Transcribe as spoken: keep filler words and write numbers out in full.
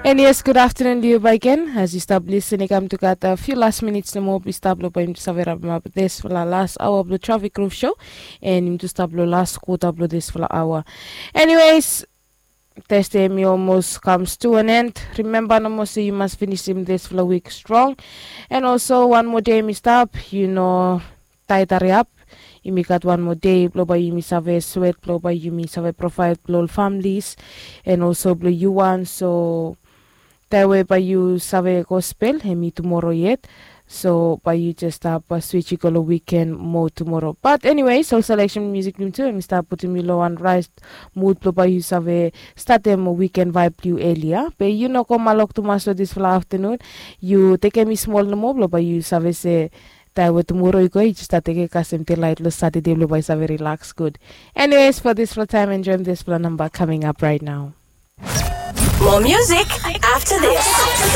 And yes, good afternoon to you back again. As you stop listening, come to got a few last minutes no more. Be stop lo by him to save wrap up this for the last hour of the traffic roof show. And him to stop lo last quarter of this for the hour. Anyways, Thursday mi almost comes to an end. Remember, no more say you must finish him this for the week strong. And also one more day mi stop, you know, taitari up. Yumi gat wan moa dei blong bae yumi save swet, blong bae yumi save provide blong ol families, and also blong yu wan. So taem we bae yu save gospel hemi tumoro yet. So bae yu jes stap switch i go long wiken moa tumoro. But anyways, ol selection music blong tu hemi stap putum yu long wan rait mud blong bae yu save statem wiken vibe blong yu elia. Be yu no go malok tumas long dispela aftanun. Yu tekem i smol nomo blong bae yu save se taem we tumoro i go, yu jes stap tekem kasem delaet long Satade blong bae yu save rilaks gud. Anyways, for dispela taem, enjoem dispela namba coming up right now. More music after this.